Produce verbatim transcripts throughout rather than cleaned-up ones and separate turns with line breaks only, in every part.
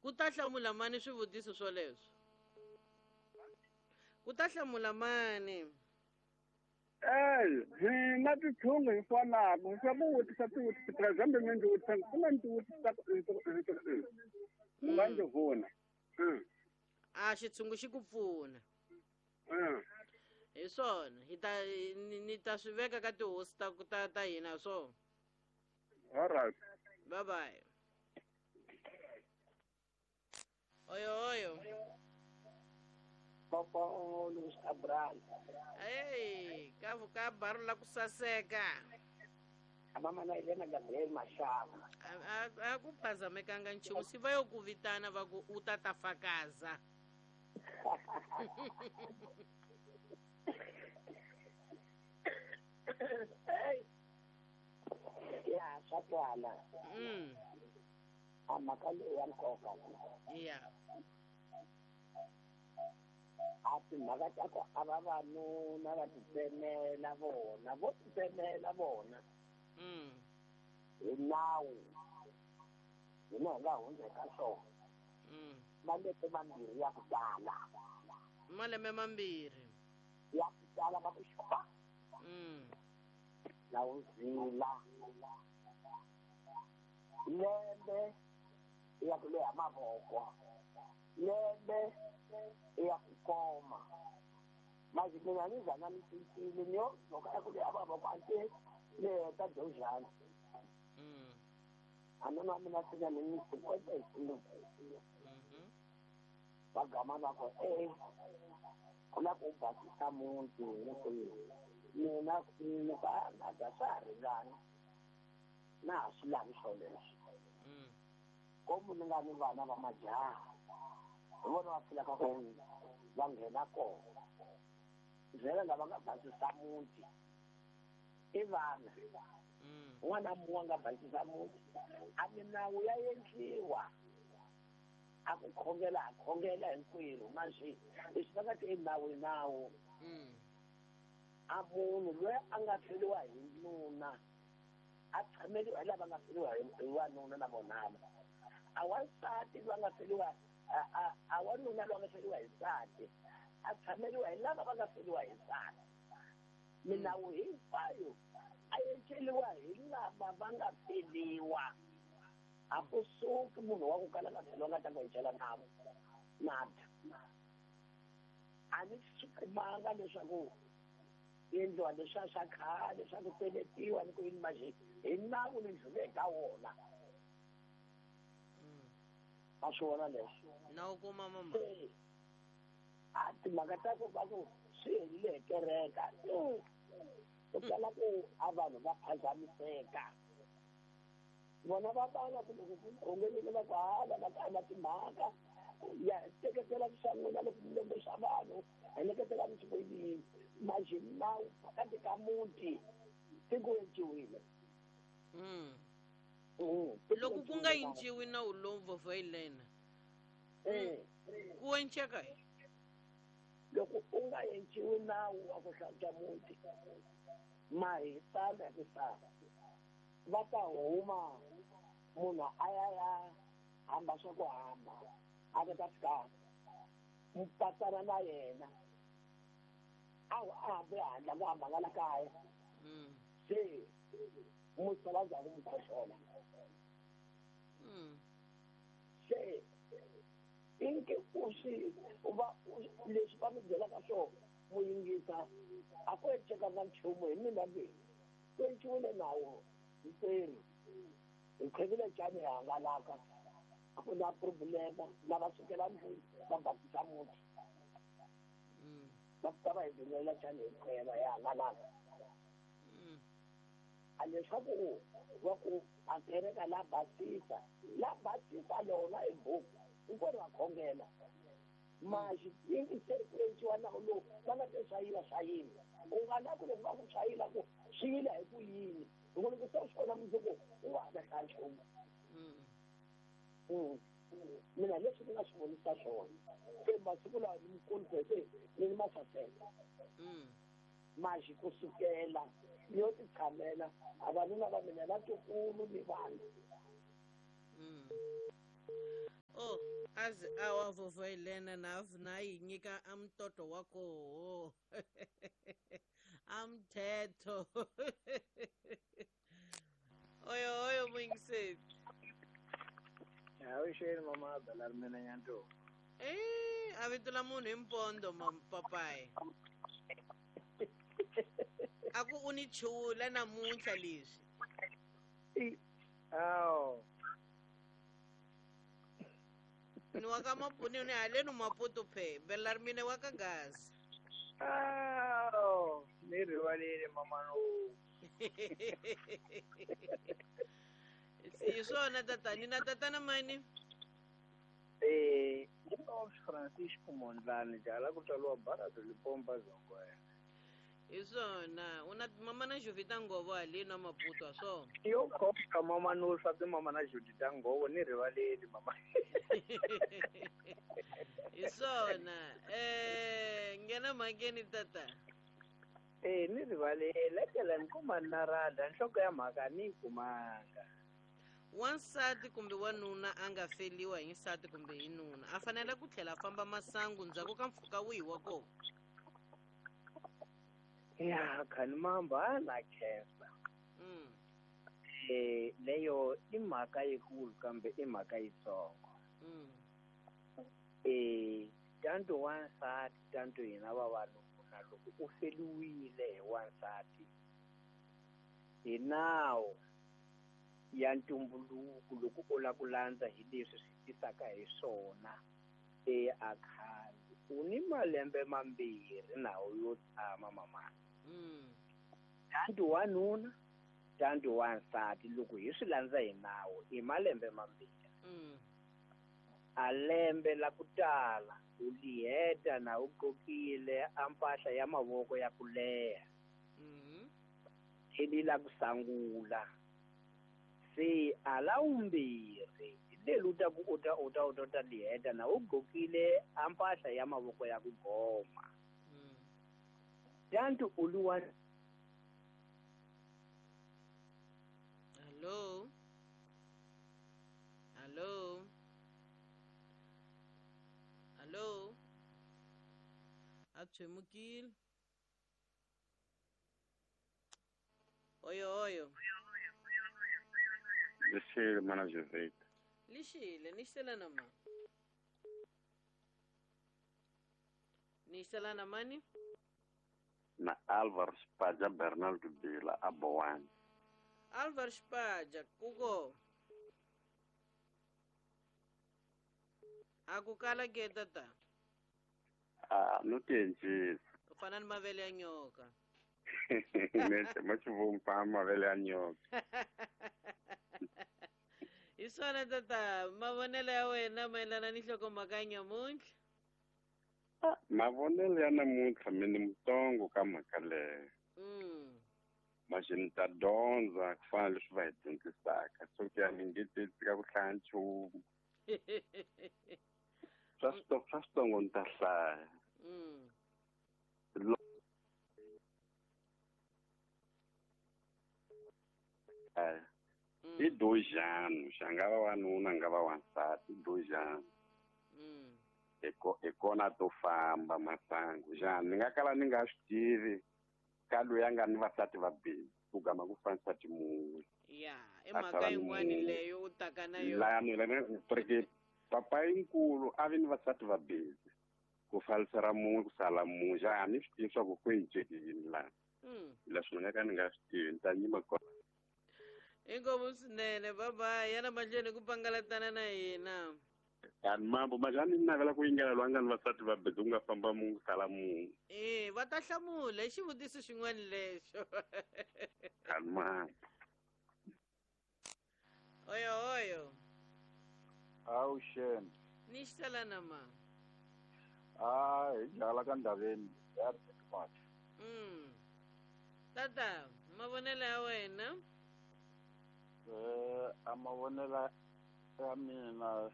Ku ta hlamula mani swivutiso swoleswo? Ku ta hlamula mani?
Eh, hina titshungu hi fanaka swa ku vutisa tivutisa for example mi ndzi vutisa ku na ndzi vutisa u nga ndzi vona.
A xitshungu xi ku pfuna. Hi swona hi ta ni ta swi veka ka tihosi ta ta ta hina swona.
All right.
Bye bye. Oyo oyo.
Papa Luis Cabral.
Hey, ka ka baru la ku saseka.
Mama na Elena Gabriel Mashava.
A a ku phazamekanga nchumu si va yo ku vitana va ku u ta ta fakaza.
Ya swa twala.
Mm.
A mhaka leyi ya nkoka.
Yeah.
A timhaka ta ku a vavanuna va titsemela vona vo titsemela vona.
Mm.
Hi nawu hina hi nga hundza eka swona.
Mm.
Malembe mambirhi ya ku tala.
Malembe mambirhi.
Ya ku tala va ku xupa.
Mm.
Na wu zila. Lembe ya ku leha mavoko. Lembe ya ku koma. Manje mina ni zana ni cincile ni yo loko ya ku leha mavoko a te ni heta dyonjhani.
Mm.
A nuna mina sina ni ni cinquenta e cinco.
Mhm.
Va gama va ku eh ku la ku basisa muti ni ku mina ni ka na ta swa ha ringana na ha swi lavi swoleswo.
Mm.
Komu ni nga ni vana va majaha hi vona va pfulaka ku va nghena kona vhela lava nga basisa muti i vana.
Mm.
N'wana mun'we a nga basisa muti a minawu ya endliwa a ku khongela a khongela hinkwerhu manje leswi va nga ti nawu i nawu.
Mm.
A munhu loyi a nga feriwa hi nuna a tshameliwa hi lava nga feriwa hi wanuna na vonana. A wansati loyi a nga feriwa a a wanuna loyi a nga feriwa hi nsati a tshameliwa hi lava va nga feriwa hi nsati. Minawu hinkwayo a endleriwa hi lava va nga feriwa. A ku suki munhu wa ku kala nga feriwa nga ta ku hi nawu nada. A ni swi kumanga leswaku endliwa leswiya swa khale swa ku peletiwa ni ku yini manje hi nawu ni ndlhule eka wona.
Mm.
Va swi vona leswo.
Na u kuma mama.
A timhaka ta ku va ku swi helile hi kereka ku kala ku a vanhu va phazamiseka. Vona va vana ku loko ku khongelile va ku hala va ka na timhaka ya teketela swa n'wina loko mi lombe swa vanhu heleketela mi swi ku yini manje nawu phakati ka muti ti ku enciwile.
Mm.
Mm.
Loko ku nga enciwi nawu lowu vovhoyilena.
Eh.
Ku enceka.
Loko u nga enciwi nawu wa ku hlantswa muti ma hi tala hi ku sala va ta huma munhu a ya ya hamba swa ku hamba a ta ta fika mupatsana na yena a a hambi handle ku hamba nga la kaya.
Mm.
Se musala ndzhaku mu khohlola.
Mm.
Se inke u swi u va leswi va mi byelaka swona mu yingisa a ku encekanga nchumu hi mina leyi ku enciwile nawu hinkwerhu hi khwevile cani hi hangalaka a ku na problema lava sukela ndlwini va basisa muti.
Mm.
Va fika va hi dzulela cani hi khweva hi hangalaka.
Mm.
A leswaku va ku a kereka la basisa la basisa lona hi buku hinkwerhu va khongela manje yingiseri ku enciwa nawu lowu va nga te swa yila swa yila u nga na ku loko va ku swa yila ku swi yila hi ku yini loko loko se u swi vona mundzuku u wa ha ta hlaya nchumu.
Mm.
Mm. Mina leswi ni nga swi vonisa swona se masiku lawa ni mukulu se ni ni masaseka.
Mm.
Manje kusukela ni yo ti tshamela a vanuna va mina vatukulu ni vanhu.
Mm. Oh. Aze awa vovó Helena na na yi nyika a mtoto wa koho. Amthetho. Oyo oyo muyingiseri.
Awuxeni mama Bela ri mina Nyanto.
Eh, a vito la munhu hi mpondo papayi. A ku u ni chula namuntlha leswi.
Aw.
Ni wa ka Mapuni ni haleni Maputo phe, Bela ri mina wa ka Gaza.
Aw, ni rivalile mama no.
Hi swona tatani na tatana mani?
Eh, Francisco Mondlane jala ku tswariwa Barado Lipompa Zongo.
Hi swona, u na mama na Jovita Ngovo haleni na Maputo a swona?
Yo khoka mama no swa ti mama na Jovita Ngovo ni rivaleli mama.
Hi swona, eh nghena mhakeni tata.
Eh ni rivalele tlela ni kuma na rada nhloko ya mhaka ni kumanga.
Wansati kumbe wanuna a nga feliwa hi nsati kumbe hi nuna a fanele ku tlhela a famba masangu ndzhaku ka mpfhuka wihi wa kona?
Ya khani mamba na khensa.
Mm.
Eh leyo i mhaka yikulu kambe i mhaka yitsongo.
Mm.
Eh tanto wansati tanto hina vavanuna loko u feliwile hi wansati hi nawu ya ntumbuluko loko u lava ku landza hi leswi swi tisaka hi swona e a khale u ni malembe mambirhi nawu yo tshama mama.
Mm.
Tanto wanuna tanto wansati loko hi swi landza hi nawu i malembe mambirhi.
Mm.
A lembe la ku tala u liheta na u qokile a mpahla ya mavoko ya ku leha.
Mm.
Eli la ku sangula. Se ala umbirhi leli u ta ku u ta u ta u ta ta liheta na u gqokile a mpahla ya mavoko ya ku goma.
Mm.
Tanto u li wa
Hello. Hello. Hello. A tshwemukile. Oyo oyo.
Lixile mana Jovita.
Lixile, ni xela na mani? Ni xela na mani?
Na Álvaro Spaja Bernardo Bila Aboane.
Álvaro Spaja, kuko. A ku kala ke tata?
Ah, no tienjisa.
U fana ni mavele ya nyoka.
Nete, ma xivumba mavele ya nyoka.
Hi swona tata, mavonelo ya wena mayelana ni nhlokomhaka ya nyamuntlha?
Mavonelo ya namuntlha mi ni mutsongo ka mhaka leyo.
Mm.
Maxi ni ta dyondza ku fana na leswi va hi dyondzisaka. So ku ya ni nge te tshika ku hlaya nchumu. Swa swa switsongo ni ta hlaya.
Mm.
I dojano, xa nga va wanuna nga va wansati, i dojano.
Mm.
Hi kona to famba masangu. Xana ni nga kala ni nga swi tivi ka loyi a nga ni vasati vambirhi ku gama ku fa nsati mun'we.
Ya, i mhaka yin'wani leyo u taka na yona.
Lani lani porque papa yinkulu a vi ni vasati vambirhi ku falisera mun'we ku sala mun'we. Xana ni swi tivi swa ku ku enceke yini laha.
Mm.
Leswi ni nga ka ni nga swi tivi ni ta nyima kona.
Inkomu swinene, bye-bye. Yana mahlweni ku pangalatana na hina.
Ani mambo majani ni navela ku yingela loyi a nga ni vasati vambirhi ku nga famba mun'we ku sala mun'we.
Eh, va ta hlamula i xivutiso xin'wana lexo.
Ani mambo.
Oyo oyo.
Awuxeni.
Ni xitala na ma.
Ah, hi jala ka ndaveni ya Mati.
Mm. Tata, mavonelo ya wena?
Eh, a mavonelo ya mina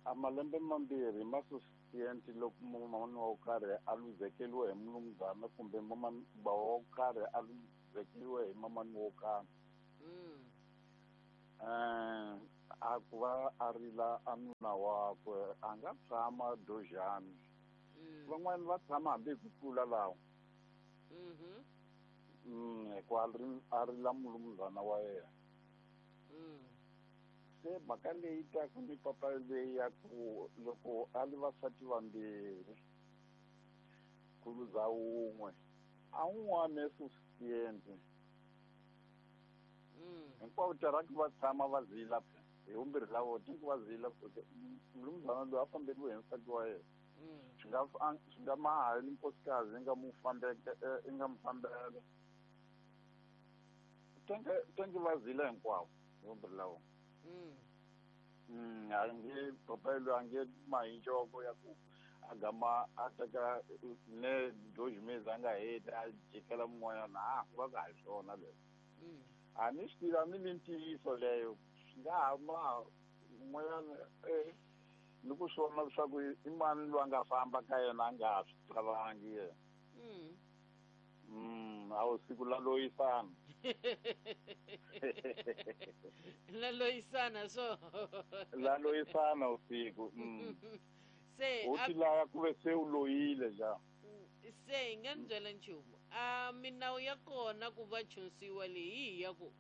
a malembe mambirhi ma sufficient loko mumani wo karhi a luzekeriwe hi mulumuzana kumbe mumani wo karhi a luzekeriwe hi mamani wo karhi.
Mm.
Eh, A ku va a rila a nuna wakwe a nga tshama dojani.
Mm.
Van'wani va tshama hambi hi ku tlula lawa.
Mhm.
Mm, hikuva a ri a rila mulumuzana wa yena.
Mm.
Se mhaka leyi taka ni papa leyi ya ku loko a ri vasati vambirhi ku luza wun'we a wun'wana esusiente
Mm.
hinkwavo tirhaki va tshama va zila hi vumbirhi la vona tinku va zila mulumuzana loyi a famberiwe hi nsati wa yena.
Mm.
Swi nga fa- swi nga maha ni nkosikazi yi nga mu fambeke yi nga mu fambela tenke tenke va zila hinkwavo hi vumbirhi la vona.
Mm.
Mm, a nge papa loyi a nge mahi ncoko ya ku a gama a teka ne dois meses a nga heti a jikela mun'wanyana a ku va ka hi swona leswo.
Mm.
A ni swi tivi a ni vi ntiyiso leyo swi nga ha ma un'wanyana eh ni ku swona leswaku i mani loyi a nga famba ka yena a nga ha swi talangi yena.
Mm.
Mm, a wu siku la loyisana.
La loyisana so.
La loyisana usiku. Mm.
Se
U
a
ti laya ku ve se u loyile ja.
se hi nga ni byela nchumu a minawu ya kona ku va chunsiwa leyi hi ya ku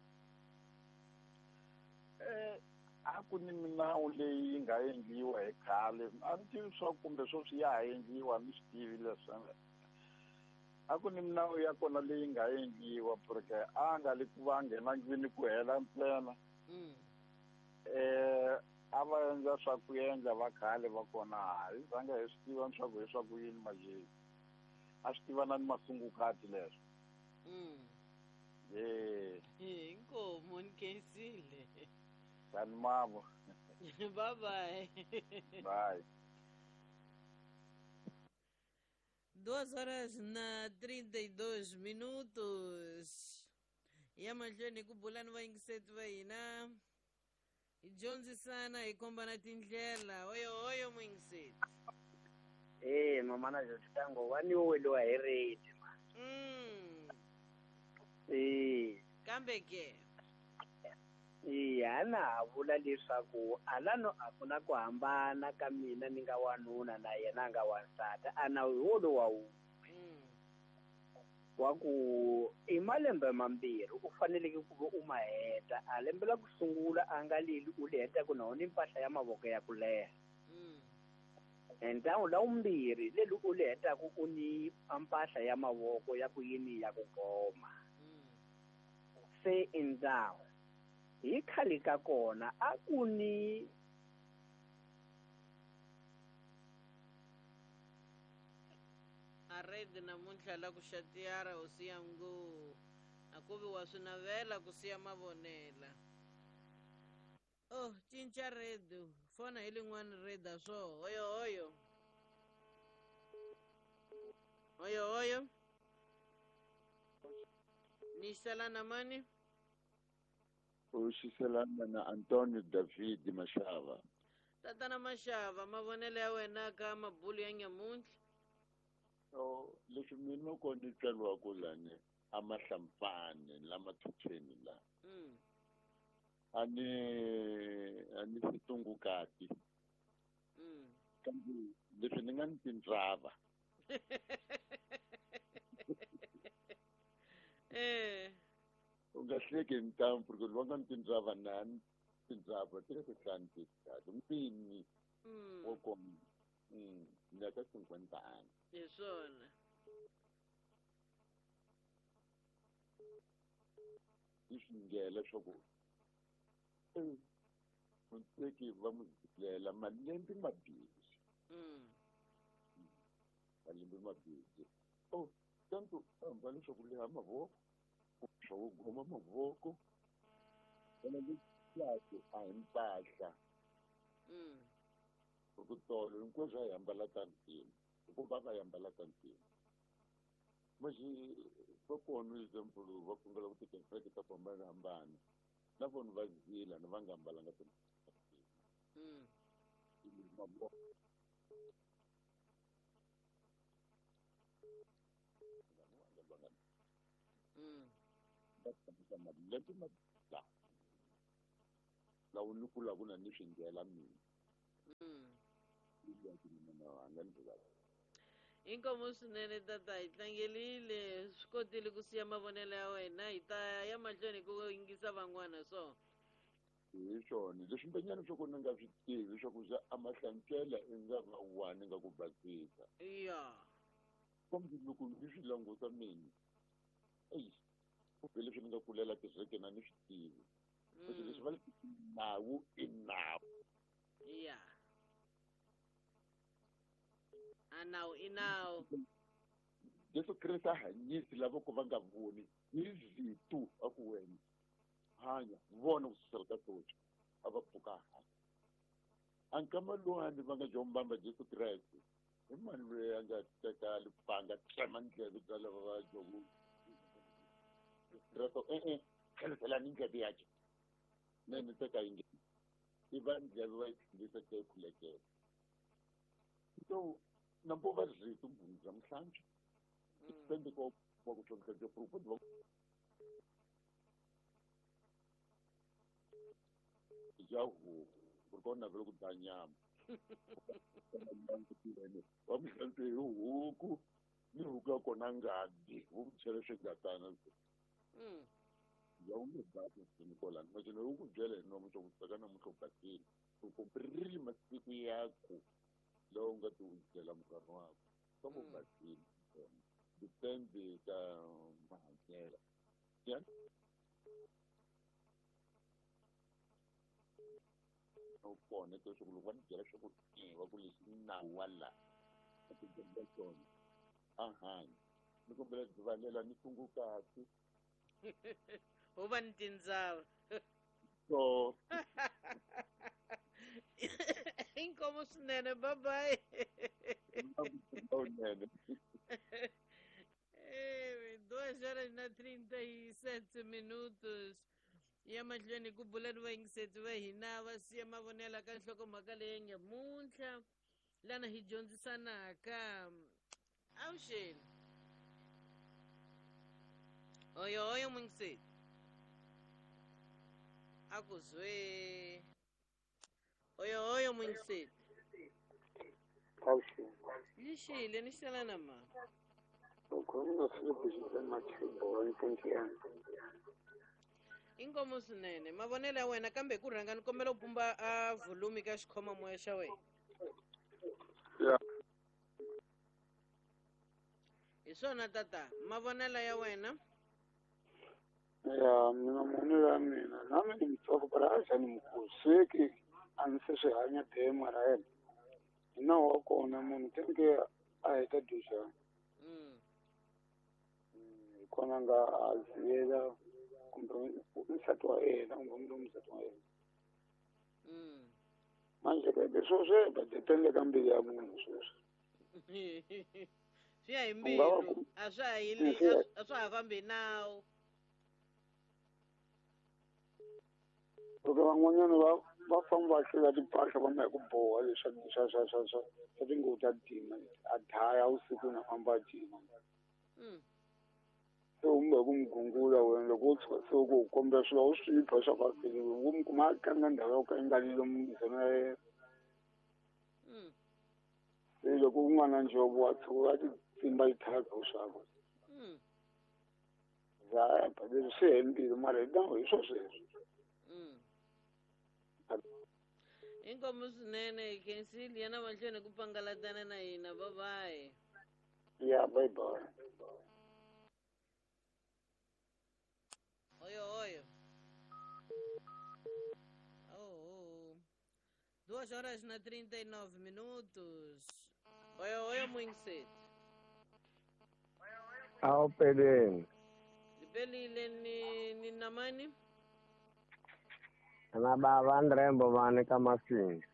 Eh a ku ni minawu leyi yi nga endliwa hi khale a ni tivi swa kumbe sweswi ya ha endliwa a ni swi tivi leswi a ku ni minawu ya kona leyi nga endliwa porque a nga li ku va nghena ndlwini ku hela ntsena.
Mm.
Eh a va endla swa ku endla va khale va kona hi zanga hi swi tiva leswaku hi swa ku yini majeni a swi tiva na ni masungukati leswo.
Mm.
Eh
Inkomo ni khensile.
tani mavo.
Bye bye.
Bye.
Duas horas na trinta e dois minutos. Ya mahlweni ku bula ni vayingiseti va hina hi dyondzisana hi kombana tindlela oyo oyo muyingiseti.
Eh mamana Jotango wa ni weliwa hi rate ma.
Mm.
Eh
Kambe ke
eh ana ha vula leswaku alano a ku na ku hambana ka mina ni nga wanuna na yena a nga wansati ana hi wolowo wu
Mm.
wa ku i malembe mambirhi u faneleke ku va u ma heta a lembe la ku sungula a nga leli u li hetaku na wona mpahla ya mavoko ya ku leha.
Mm.
Ntawu la wumbirhi leli u li hetaku u ni mpahla ya mavoko ya ku yini ya ku goma.
Mm.
Se i ndhawu hi khale ka kona a ku ni
a redi namuntlha la ku xatiyara hosi ya ngu a ku vi wa swi navela ku siya mavonela. Oh cinca redi fona hi lin'wani redi a swo hoyo hoyo hoyo hoyo ni xisela na mani.
U xiselana na Antonio David Mashava.
Tatana Mashava mavonelo ya wena ka mabulu ya nyamuntlha.
So leswi mina ko ni tswariwaka lani a Mahlampfani la Mathuthweni la.
Mm.
A ni a ni situngukati.
Mm.
Kambe leswi ni nga ni tindzava.
Eh.
U nga hleki ntamu porque loko nga ni tindzava na ni tindzava ti le ku hlanu tisikati mpini
Mm.
wo koma. Mm, ni ya ka cinquenta anos.
Hi swona.
Yi swi nghela leswaku eh muteki va mu zilela malembe mambirhi.
Mm.
Malembe mambirhi. Oh, tanto hamba leswaku leha mavoko swa ku goma mavoko ene leswaku a hi mpahla.
Mm.
Ku tolo hinkwaswo a hi ambala ta ntima hikuva va hi ambala ta ntima Mas va kona example va kongela ku tikereke ta ku hambanahambana na vona va zila na va nga ambalanga ta ntima.
Mm.
Mavoko
Mm.
va tshamisa malembe ma la. Lawa ni kula ku na ni swi ndlela mina.
Mm.
Mina
Inkomu swinene tata hi tlangerile swi kotile ku siya mavonelo ya wena hi ta ya mahlweni ku yingisa van'wana so.
Hi swona leswi mbenyana swa ku ni nga swi tivi swa ku za a mahlantswela i nga va wani nga ku basisa.
Ya.
Kambe loko ni swi languta mina eyi kumbe leswi ni nga kulela kerekeni a ni swi tivi. Leswi leswi va nawu i nawu.
Ya. A nawu i nawu.
Jesu Kreste a hanyisi lava ku va nga voni hi vitu a ku wena hanya vona ku susela ka socha a va pfuka hanya. A nkama luwani va nga jombamba Jesu Kreste hi mani loyi a nga teka lipanga tsema ndleve bya lava va joku Kreste e-e tlheliselani ndleve yakhe ne ni teka yi nge i va ndleve va yi tlhelisa ka yi khulekela. So nambo va rito mbhuni bya mihlantswa depende ko wa ku tlhontlha proof va ya huku ku ri ka u navela ku dya nyama wa mihlantswa hi huku ni huku ya kona ngati vo ku chela swingatana ya u nge basi nikolani macino u ku byela hi nomu swa ku tsaka namuntlha u basile u komberile masiku ya ku lawa u nga ti u byela munghana wakho kambe u basile depende ka mahanyelo ya u kona leswaku loko va ni byela swa ku va ku leswi nawu wa laha a ti byela swona a hanya ni kombela rivalela ni sungukati
ho va ni tindzava
so
inkomu swinene bye bye. Duas horas na trinta e sete minutos. Ya mahlweni ku bula ni vayingiseti va hina va siya mavonelo ka nhlokomhaka leyi nge muntlha lana hi dyondzisanaka. Avuxeni. Oyo oyo muyingiseti. A ku zwe. Oyo oyo muyingiseti.
Avuxeni.
Lixile ni xela na ma.
Ukhuluma Philip Machibo eNkiyana.
Inkomu swinene mavonelo ya wena kambe ku rhanga ni kombela u pumba a volume ka xikhoma moya xa wena.
Ya.
Hi swona tata mavonelo ya wena.
Ya mina mavonelo ya mina na mina ni mutsongo bara a xa ni mukulu sweki a ni se swi hanya de mara yena hi nawu wa kona munhu tenke a heta dyuxa.
Mm.
Hi kona nga a ziyela kumbe nsati wa yena kumbe munhu nsati wa yena.
Mm.
Manje ke leswo swi ba depende ka mbilu ya munhu sweswi.
Swi ya hi mbilu a swa ha yili a swa ha fambi nawu.
Loko van'wanyana va va famba va hlula timpahla va ma hi ku boha leswa swa swa swa swa swa tinguvu ta dima a daya vusiku na famba a dima.
Mm.
Se u mbe ku n'wi gungula wena loko u tshuka se u ku kombela swilo u swi pha swa ku u n'wi kuma a tlanga ndhawu ya ku ka yi nga lomu ndzhona ya yena.
Mm.
Se loko un'wana njovo wa tshuka a ti tsimba yi thyaka u swakwe.
Mm.
Za leswi swi he mbilu mara hi nawu hi swo sweswo.
Mm. Inkomu swinene khensile yena mahlweni ku pangalatana na hina bye bye.
Ya bye bye.
Oyo oyo. Oh, oh. Duas horas na trinta e nove minutos. Oyo oyo muyingiseti.
Awu peleni.
Lipelile ni ni namani?
Na baba Andre Mbovane ka Masinga.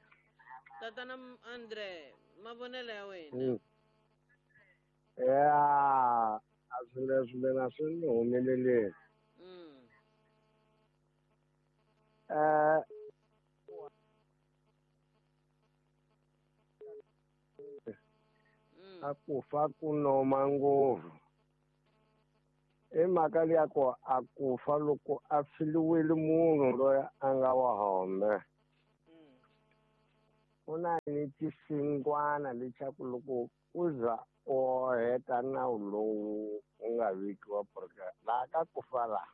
Tatana Andre, mavonelo ya wena.
Mm. Ya, a swi leswi mina swi ni humeleleni.
Mm.
Eh
Mm.
a ku fa ku noma ngopfu. I mhaka liya ku a ku fa loko a filiwile munhu loyi a nga wa hombe. Ku na ni xisingwana lexaku loko u za u heta nawu lowu u nga vekiwa porque laha ka ku fa laha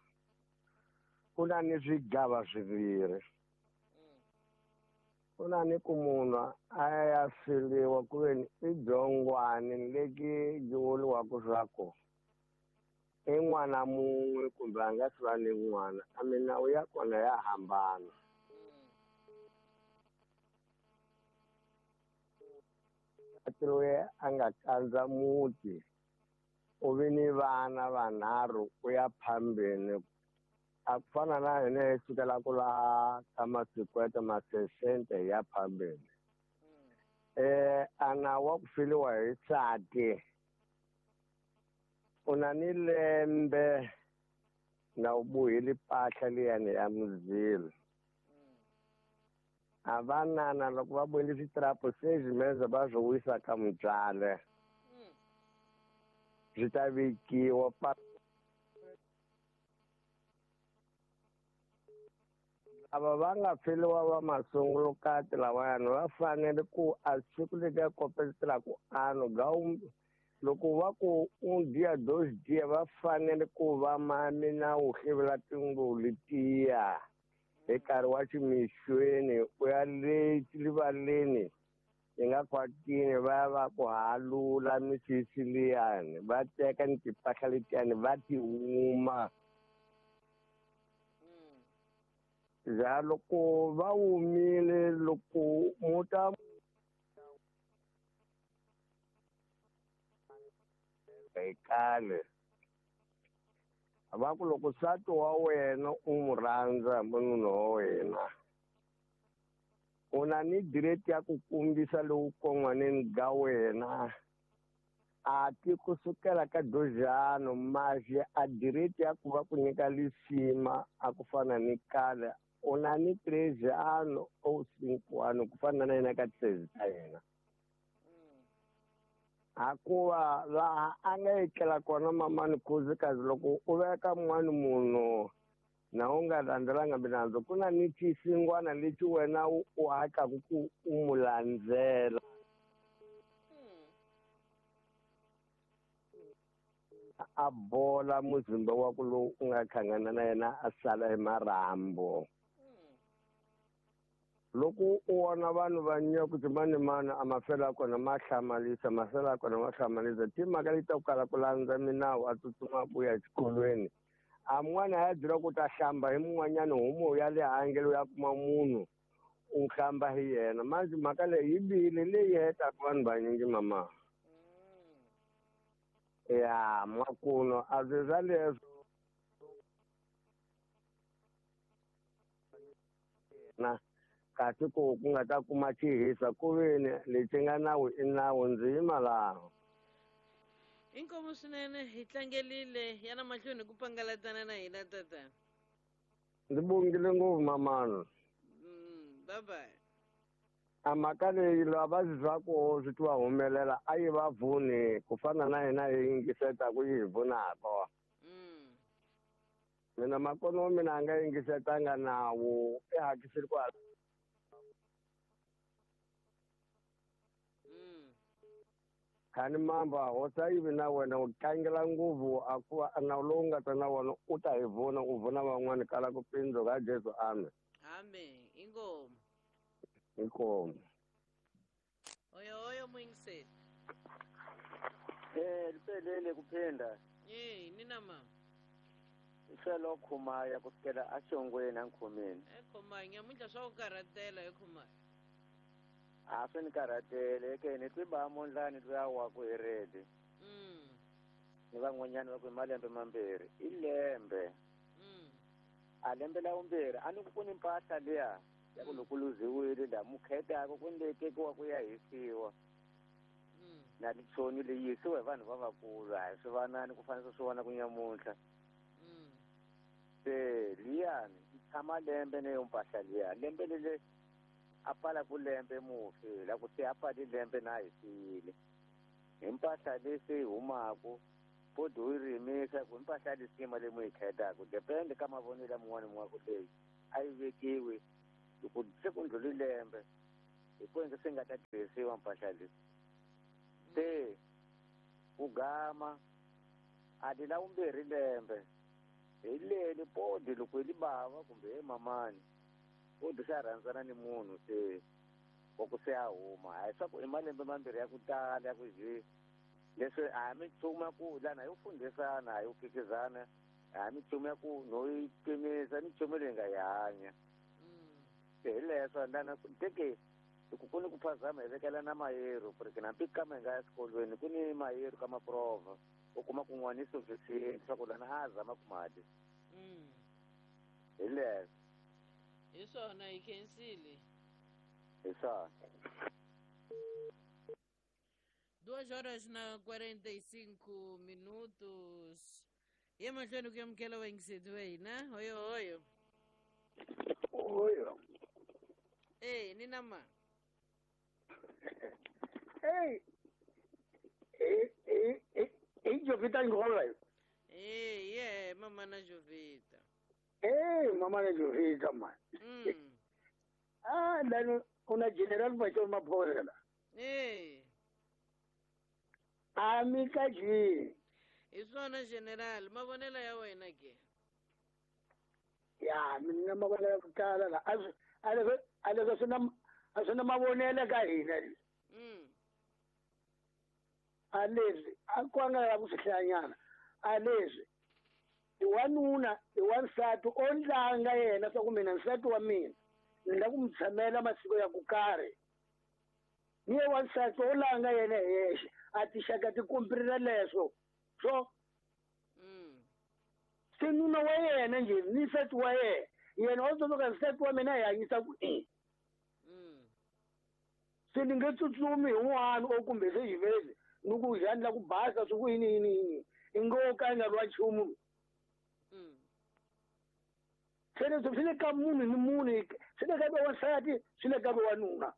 ku na ni swigava swimbirhi. Ku na ni ku munhu a ya filiwa ku ve ni i byongwani leki byi vuriwaka swa ku i n'wana mun'we kumbe a nga si va ni n'wana, a milawu ya kona ya hambana. Loyi a nga kandza muti u vi ni vana vanharhu ku ya phambeni a ku fana na hina hi sukela ku laha ka masikwete masesente ya phambeni. Eh a nawu wa ku filiwa hi nsati u na ni lembe na u bohile mpahla liyani ya muzilo. A vanana loko va bohile switrapo se swimeza va swi wisa ka mutswale swi ta vekiwa pa lava va nga feliwa va masungulukati lawayani va fanele ku a siku letiya kopetelaka ano ga loko va ku un dia dos dia va fanele ku va ma minawu hlevula tinguvu letiya hi nkarhi wa ximixweni u ya le rivaleni hi nga khwatini va ya va ku halula misisi liyani va teka ni timpahla letiyani va ti huma. Za loko va humile loko muta hi kale va ku loko nsati wa wena u n'wi rhandza munhu wa wena u na ni direct ya ku kombisa lowu kon'waneni ga wena a ti kusukela ka dojano maxi a direct ya ku va ku nyika lisima a ku fana ni kale u na ni trezano o cinco ku fana na yena ka treze ta yena. Hakuva laha a nga etlela kona mamani khuzikazi loko u veka mun'wani munhu na u nga landzelanga milandzu ku na ni xisingwana lexi wena u hatlaku ku u n'wi landzela. A bola muzimba wa ku lowu u nga hlangana na yena a sala hi marhambu. Loko u vona vanhu va nyika ku mani mani a mafela kona ma hlamarisa mafela kona ma hlamarisa timhaka leti ta ku kala ku landza minawu a tsutsuma ku ya exikolweni a mun'wana a ya byela ku ta hlamba hi mun'wanyana homu ya le handle ya kuma munhu u hlamba hi yena manjhe mhaka leyi yi bihile leyi hetaka vanhu vanyingi mama. Ya makuno a swi swa leswo na kasi ku ku nga ta kuma xihisa ku veni lexi nga nawu i nawu ndzi yima laha.
Inkomu swinene hi tlangerile yana mahlweni ku pangalatana na hina tata.
Ndzi bongile ngopfu mamana.
Bye bye.
A mhaka leyi lava va swi swa ku swi ti va humelela a yi va vuni ku fana na hina hi yingisetaku yi hi vunaka. Mina makono wa mina a nga yingisetanga nawu i hakisile ku khani mamba hosa yivi na wena u tlangela ngopfu a ku va nawu lowu nga ta na wona u ta hi vona u vona van'wani kala ku pindzu ka Jesu amen.
Amen. Inkomu.
Inkomu.
Oyo oyo muyingiseli.
Eh liphelele kuphinda.
Eh nina mama.
Iselo khumaya kusukela axongweni ankhomeni.
Eh khumaya nyamuntlha swa ku karhatela he khumaya.
A swi ni karhatele ke ni twi ba mondlani luya wa ku hi redi.
Mm.
Ni van'wanyana va ku malembe mambirhi i lembe.
Mm.
A lembe la vumbirhi a ni ku ku ni mpahla liya ya ku loko luziwile la mukhetaka ku ni leyi tekiwa ku ya hisiwa.
Mm.
Na titsoni leyi hisiwa hi vanhu va vakulu a hi swi vanani ku fanele swi vona ku nyamuntlha.
Mm.
Se liyani yi tshama lembe neyo mpahla liya lembe lele a pfala ku lembe mufi la ku se a pfali lembe na hisile hi mpahla leyi se yi humaku Podi u yi rimisa ku mpahla ya lisima leyi mu yi khetaka depende ka mavonelo ya mun'wana mun'wana ku leyi a yi vekiwi loko se ku ndlhuli lembe hi ku se nga ta tirhisiwa mpahla leyi se ku gama a ti la vumbirhi lembe hi leli podi loko hi li bava kumbe hi mamani podi se a rhandzana ni munhu se wa ku se a huma a hi swa ku i malembe mambirhi ya ku tala ya ku je leswi a hi minchumu ya ku lana hi yo fundhisana a hi yo phikizana a hi minchumu ya ku no yi pimisa minchumu leyi nga yi hanya se hi leswo lana teke loko ku ni ku phazama hi vekela na mayero porque hambi kama hi nga ya swikolweni ku ni mayero ka maprova u kuma ku n'wana i sufficient swa ku lana a zama ku mali hi leswo
hi swona hi khensile
hi swona.
Duas horas na quarenta e cinco minutos. E mahlweni ku amukela vayingiseti va hina. Hoyo hoyo.
Hoyo.
Eh, ni na ma.
Hey. Eh eh eh eh Jovita Ngola.
Eh, yeah, mama na Jovita.
Eh, mama na Jovita ma.
Mm.
Ah, lano una general Bachor Maphola.
Eh.
Amika ji.
Hi swona general, mavonelo ya wena ke?
Ya, mina mavonelo ya ku tala la. A leswi a leswi swi na a swi na mavonelo ka hina.
Mm.
A leswi a ku nga la ku swi hlayanyana. A leswi i wanuna i wansati o ndlanga yena swa ku mina nsati wa mina ni la ku mi tshamela masiku ya ku karhi. Ni ye wansati o langa yena hi yexe a tixaka ti kumpirila leswo so se nuna wa yena njhe ni nsati wa yena yena o tsundzuka nsati wa mina hi hanyisa ku i se ni nge tsutsumi hi n'wana o kumbe se xivezi ni ku njhani la ku basa swi ku yini yini yini i ngo ka i nga ri wa nchumu se leswi swi le ka munhu ni munhu swi le ka va wansati swi le ka va wanuna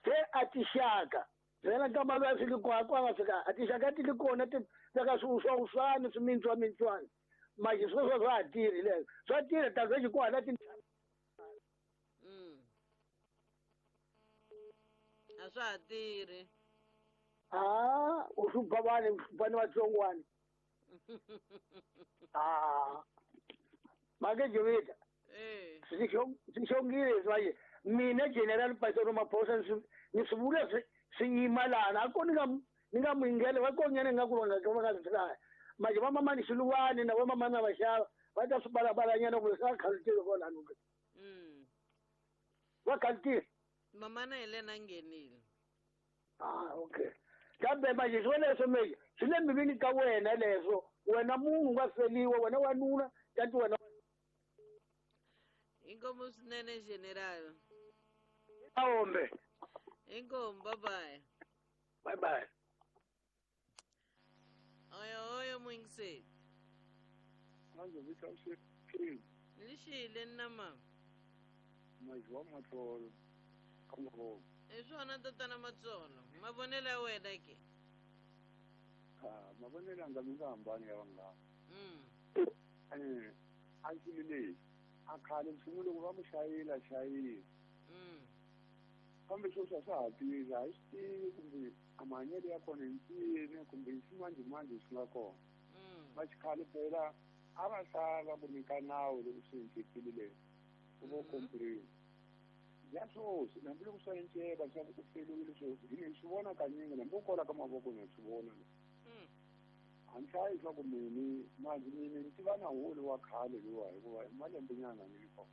se a tixaka byela ka mali ya swi li kona kwa nga fika a tixaka ti li kona ti veka swiuswauswani swimintswamintswani manje sweswo swa ha tirhi leswo swa tirha ta vexi ku hala ti
a swa ha tirhi
a u hlupha vanhu u hlupha ni vatsongwana a make Jovita swi xongile leswi manje mina general Pastor Maphosa ni swi vula swi swi yima lana a ko ni nga ni nga muyingele va konyana nga ku va nga va nga swi hlaya manje va mamani Xiluwani na va mamani na vaxava va ta swi balabalanyana ku swa khalutile kwalano ke va khalutile
mamana hi lena nghenile.
Ah, okay. Kambe manje swo leswo meje swi le mbilwini ka wena leswo wena munhu nga feliwa wena wanuna kanti wena.
Inkomu swinene general.
Aombe.
Inkomu, bye bye.
Bye bye.
Oyo oyo muyingiseti.
Manje vita ushekile.
Lixile na mama.
Manje wa matsolo. Kamavo.
Hi swona tatana Matsolo. Mavonelo ya wena ke?
Ah, mavonelo anga mi nga hambani ya vanghana.
Mm.
Eh, a xilo lexi a khale nchumu loko va ku xayila xayila.
Mm.
Kambe sweswi a swa ha tirhi a hi swi tivi kumbe a mahanyelo ya kona hi ncini kumbe hi ximanjhemanjhe swi nga kona.
Mm.
Va xikhale phela a va sala ku nyika nawu loko swi endlekile leswi u vo kompriwa. Ya sweswi hambi loko swa enceka swa ku u feliwile sweswi hi ni swi vona kanyingi hambi u kola ka mavoko na swi vona. A ni hlayi swa ku mini manje mina ni tiva na wulu wa khale luwa hikuva hi malembe nyana ni li kona.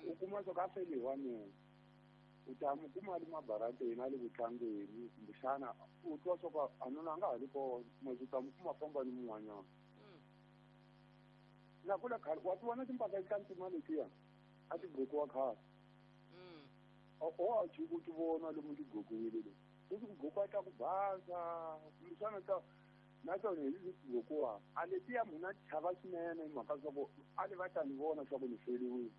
U kuma swa ku a feli hi wanuna u ta mu kuma a li mabarateni a li ku tlangeni kumbexana u twa swa ku a nuna a nga ha li kona manje u ta mu kuma famba ni mun'wanyana. Na kula khale wa ti vona timpahla ta ntima letiya a ti gqokiwa khale. O a jiki u ti vona lomu ti gqokiwile leti sweswi ku gqokiwa ta ku basa kumbexana ta na tona hi leti gqokiwaka a letiya munhu a chava swinene hi mhaka swa ku a li va ta ni vona swa ku ni feliwile.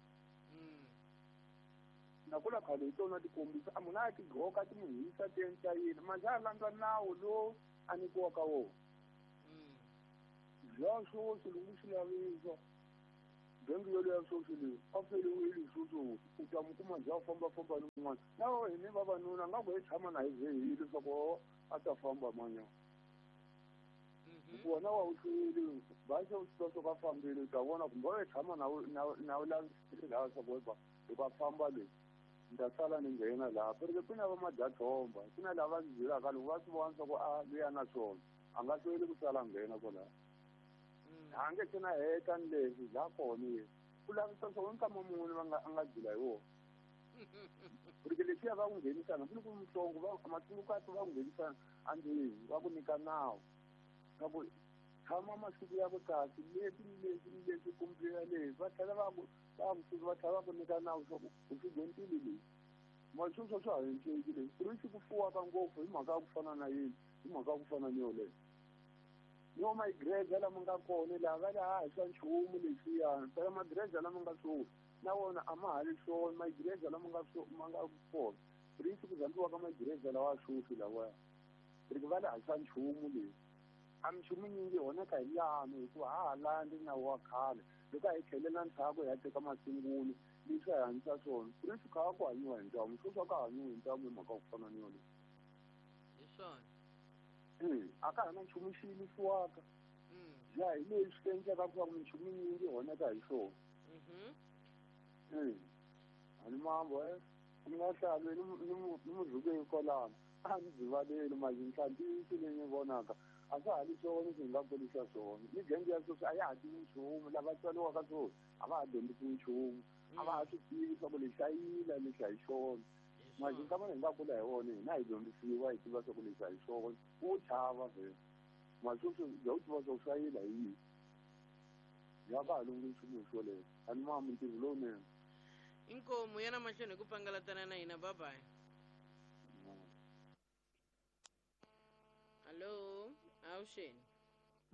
Na kula khale hi tona ti kombisa a munhu a ti gqoka ti mu hisa ti endla yini manje a landza nawu lowu a nyikiwaka wona. Bya swoswi loko swi lavisa genge yoleyo swoswi leyi a feriwile swoswi u ta mi kuma bya fambafamba ni un'wana na hini vavanuna nga ku hi tshama na hi ze hi leswaku a ta famba manya hikuva na wa wu hlweli ba se u swi tiva swa ku a fambile u ta vona kumbe u tshama na na wu lavisile laha swa ku loko a famba leyi ni ta sala ni nghena laha perike ku na va madyathomba ku na lava ndzi byelaka loko va swi vona swa ku a luya na swona a nga hlweli ku sala nghena kwalaho. A nge se na heta ni leswi la kona ye ku lavisa swa nkama muni va nga a nga jula hi wona porque leswiya va ku nghenisana ku ni ku muhlongo va matsungukati va ku nghenisana andlwini va ku nyika nawu na ku tshama masiku ya ku kasi leswi ni leswi ni leswi kumbe leswi va tlhela va ku va ku va tlhela va ku nyika nawu swa ku u swi dyondzile leswi masweswo swa ha enceki leswi ku ri swi ku fuwaka ngopfu hi mhaka ya ku fana na yini hi mhaka ya ku fana ni yoleyo. Yo maigreja lama nga kona laha va le ha swa nchumu leswiyani phela magreja lama nga swona na wona a ma ha ri swona maigreja lama nga ma nga kona risi ku zambiwaka magreja lawa swoswi lawaya ri va le ha swa nchumu leswi a minchumu nyingi honeka hi lano hikuva ha ha landzi nawu wa khale loko a hi tlhelela ndzhaku hi ya teka masungulo leswi a hi hanyisa swona risi kha ku hanyiwa hi ntamu swoswi a ka hanyiwi hi ntamu hi mhaka ku fana ni yoleyo.
Hi swona
a ka ha na nchumu xi yimisiwaka ya hi leswi endlaka ku va minchumu yinyingi honeka hi swona. A ni mambo e ni nga hlavi ni muzukeni kwalano a ni byivaleli mali ntlhantlhisi leyi ni vonaka a swa ha ri swona swi nga kurisa swona ni genge ya sweswi a ya ha tivi nchumu lava tswariwaka swona a va ha dyondzisi nchumu a va ha swi tivi swa ku lexi a yila lexi a hi xona mali nkama hi nga kula hi wona hina hi dyondzisiwa hi tiva swa ku lexi a hi xona u chava vhele mali sweswi bya u tiva swa ku swa yila hi yini ya ka ha lunghi nchumu hi swoleswo a ni ma mintirho lowunene.
Inkomu yana mahlweni hi ku pangalatana na hina bye-bye. Hallo, awuxeni.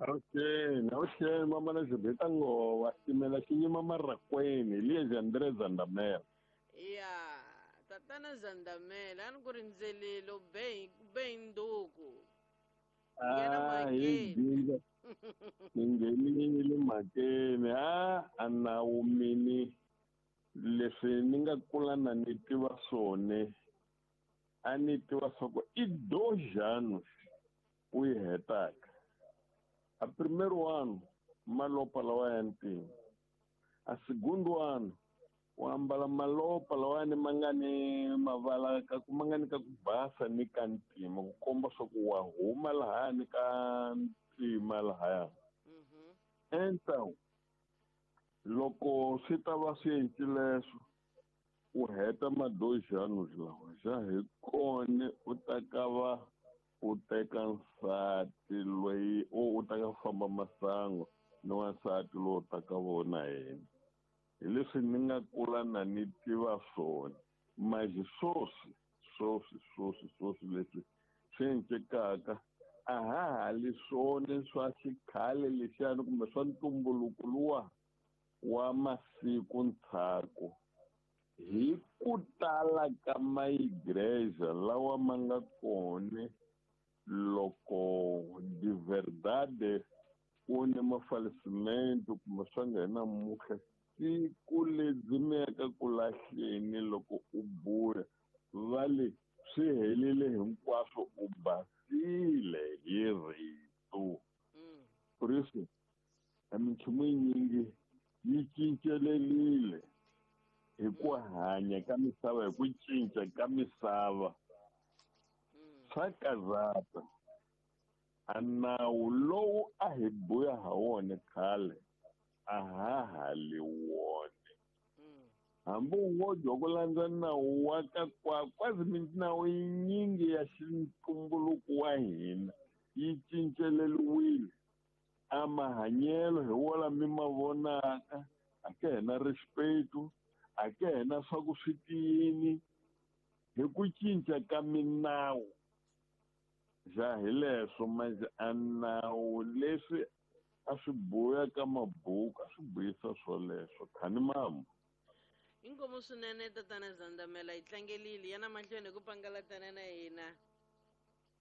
Awuxeni, awuxeni mama na Jubeta ngova ximela xi yima marakweni liya Andre Zandamela.
Ya, tatana Zandamela a ni ku rindzelile u be be nduku.
Ah, hi jinga. Ni nghenile mhakeni a a nawu mini leswi ni nga kula na ni tiva swona a ni tiva swa ku i dois anos u yi hetaka. A primeiro ano malopa lawa ya ntima, a segundo ano u ambala malopa lawani ma nga ni mavala ka ku ma nga ni ka ku basa ni ka ntima ku komba swa ku wa huma lahani ka ntima lahaya. Então loko swi ta va swi encile leswo u heta ma dois anos lawa xa hi kona u ta ka va u teka nsati loyi u ta ka famba masangu ni wansati lowu ta ka vona yena. Hi leswi ni nga kula na ni tiva swona manje swoswi swoswi swoswi swoswi leswi swi encekaka a ha ha li swona swa xikhale lexiyani kumbe swa ntumbuluko luwa wa masiku ndzhaku hi ku tala ka maigreja lawa ma nga kona loko de verdade ku ni mafalecimento kumbe swa nghena muhle siku lebyi mi yaka ku lahleni loko u buya va le swi helile hinkwaswo u basile hi rito. Por isso a minchumu yinyingi yi cincelelile hi ku hanya ka misava hi ku cinca ka misava swa karhata. A nawu lowu a hi buya ha wona khale a ha ha li wona hambi u ngo dya ku landza nawu wa ka kwa kwazi minawu yinyingi ya xintumbuluko wa hina yi cinceleliwile. A mahanyelo hi wona mi ma vonaka a ke hina respeto a ke hina swa ku swi tiyini hi ku cinca ka minawu ja hi leswo manje a nawu leswi a swi buya ka mabuku a swi buyisa swoleswo khani mambo.
Inkomu swinene tatana Zandamela hi tlangelile yana mahlweni hi ku pangalatana na hina.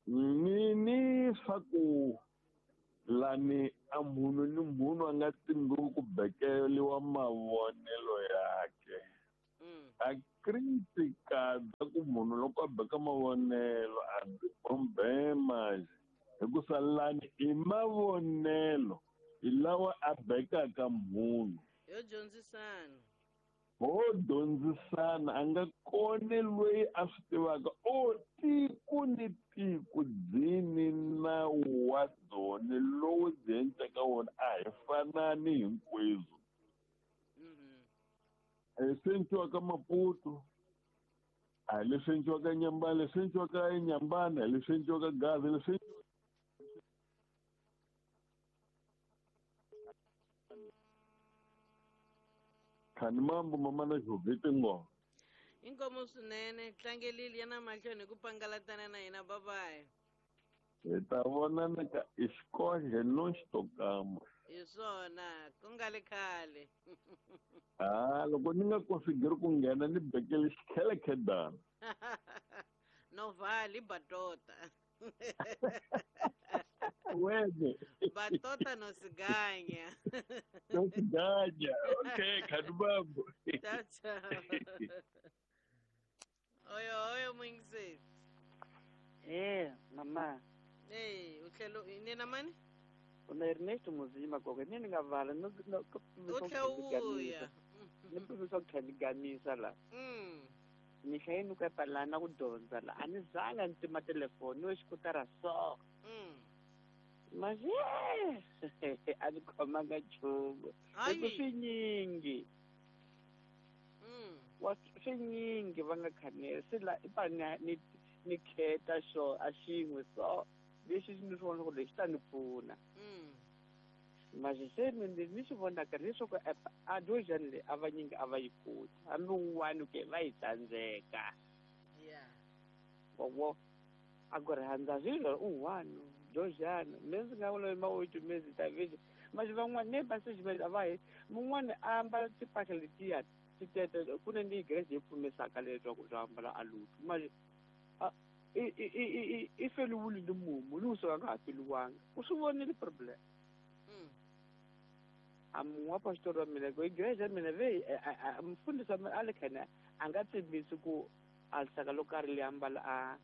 Ni swa ku lani a munhu ni munhu a nga timbi ku bekeliwa mavonelo yakhe. A critica bya ku munhu loko a beka mavonelo a byi bombe manje hikusa lani i mavonelo hi lawa a bekaka munhu.
Yo dyondzisana.
Ho dyondzisana a nga koni loyi a swi tivaka o tiko ni tiko byi ni nawu wa byona lowu byi endlaka wona a hi fanani hinkwenu. Leswi endliwaka Maputo a hi leswi endliwaka Nyambana, leswi endliwaka eNyambana hi leswi endliwaka Gaza, leswi khani mambo mama na xovhiti ngo.
Inkomo swinene tlangelile ya na mahlweni hi ku pangalatana na hina babayi.
Hi ta vonana ka xikodle no xitokama.
Hi swona ku nga le khale.
Ah, loko ni nga konsigiri ku nghena ni bekele xikhelekhedana.
No vali batota.
Wene.
Batota no siganya.
No siganya. Okay, khani mambo.
Ciao ciao. Oyo oyo mwingiseti.
Eh, mama.
Eh, utlhelo nina mani?
Una Ernesto Muzima gogo ni nga vala no no
no
ni pimisa ku tlhela ni gamisa la.
Mm.
Ni hlaye ku epalana ku dyondza la a ni zanga ni tima telefoni ni we xikutara so.
Mm.
Manje a ni khomanga nchumu.
Hayi.
Hi ku swinyingi.
Mm.
Wa swinyingi va nga khanela se la i pa ni ni ni kheta xo a xin'we so lexi ni swi vona ku lexi ta ni pfuna.
Mm.
Manje se ni ni swi vonaka leswaku a dojani leyi a vanyingi a va yi koti hambi wun'wani ke va yi tsandzeka.
Yeah.
Wa a ku rhandza swilo un'wana dojani me ndzi nga vula mawuti me ndzi ta visa manje van'wana ne va se a va hi mun'wana a ambala timpahla letiya ti tete ku na ni grace yi pfumisaka leswaku swi ambala a lutu manje a i i i i feliwile ni mumu ni usuka nga ha feliwanga u swi vonile problem.
Mm.
A munhu wa pastor wa mina ku igreja ya mina ve mfundhisi wa mina a le khana a nga tshembisi ku a lisaka lo karhi li ambala a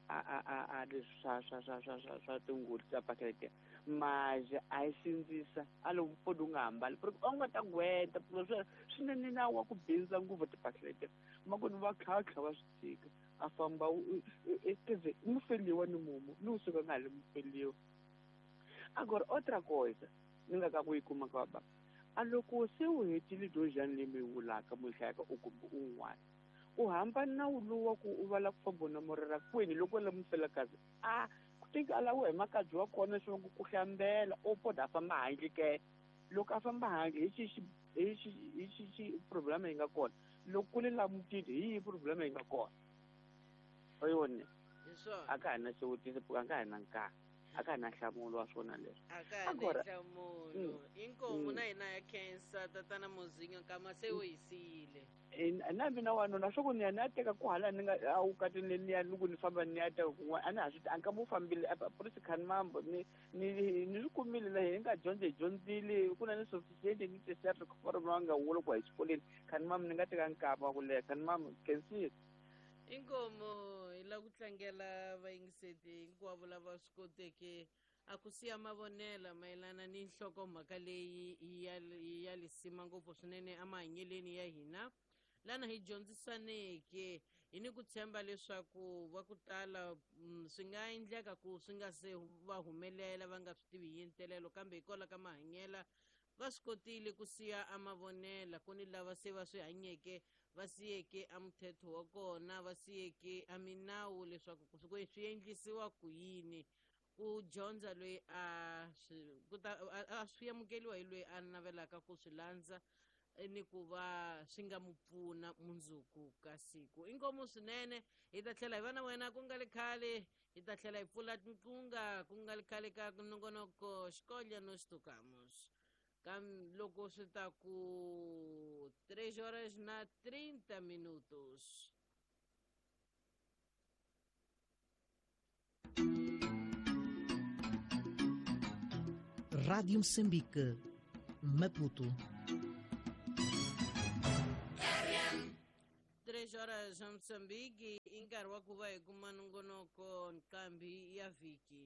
a a a a leswi swa swa swa swa swa swa tingulu ta pakete manje a yi sindzisa a lo mpfuni u nga ambali porque u nga ta gweta swi swinene nawu wa ku bindza ngopfu tipakete ma ku ni va khatlha va swi tshika a famba eze mufeliwa ni mumu ni usuka nga ha mufeliwa. Agora outra coisa ni nga ka ku yi kuma ka baba a loko se u hetile dojani leyi mi yi vulaka mu hlayaka u kumbe un'wana u hamba nawu lowu wa ku u vala ku famba na morera kwini loko la mufelakazi a ku teka a laviwa hi makadzi wa kona swi ku hlambela u poda a famba handle ke loko a famba handle hi xi hi xi hi xi xi problema yi nga kona loko ku le la mutini hi yihi problema yi nga kona oyone
Hi swona.
a ka ha na xivutiso a ka ha na nkarhi a ka ha na nhlamulo wa swona leswi.
A ka ha na
Agora
nhlamulo. Inkomu na hina ya khensa tatana Muzinyo kama se u hi siyile.
Na mina wanuna swa ku ni ya ni ya teka ku hala ni nga a wukatini ni ya loko ni famba ni ya teka kun'wana a ni ha swi a nkama wu fambile polisi khani mambo ni ni ni swi kumile la hi nga dyondza hi dyondzile ku na ni sufficient ni tisert for va nga wula ku hi xikolweni khani mambo ni nga teka nkama wa ku leha khani mambo khensile.
Inkomo hi lava ku tlangela vayingiseti hinkwavo lava swi koteke a ku siya mavonela mayelana ni nhlokomhaka leyi ya ya lisima ngopfu swinene emahanyeleni ya hina lana hi dyondzisaneke hi ni ku tshemba leswaku va ku tala swi nga endleka ku swi nga se va humelela va nga swi tivi hi ntelelo kambe hikwalaho ka mahanyela va swi kotile ku siya amavonela ku ni lava se va swi hanyeke va siyeke a muthetho wa kona va siyeke a minawu leswaku swi swi endlisiwa ku yini ku dyondza loyi a swi ku ta a swi amukeliwa hi loyi a navelaka ku swi landza ni ku va swi nga mu pfuna mundzuku ka siku. Inkomu swinene hi ta tlhela hi va na wena ku nga le khale hi ta tlhela hi pfula tinqunga ku nga le khale ka nongonoko xikolya no xitukamus kam loko swi ta ku três horas na trinta minutos.
Rádio Moçambique, Maputo.
Três horas em Moçambique, i nkarhi wa ku va hi kuma nongonoko nqambi ya vhiki.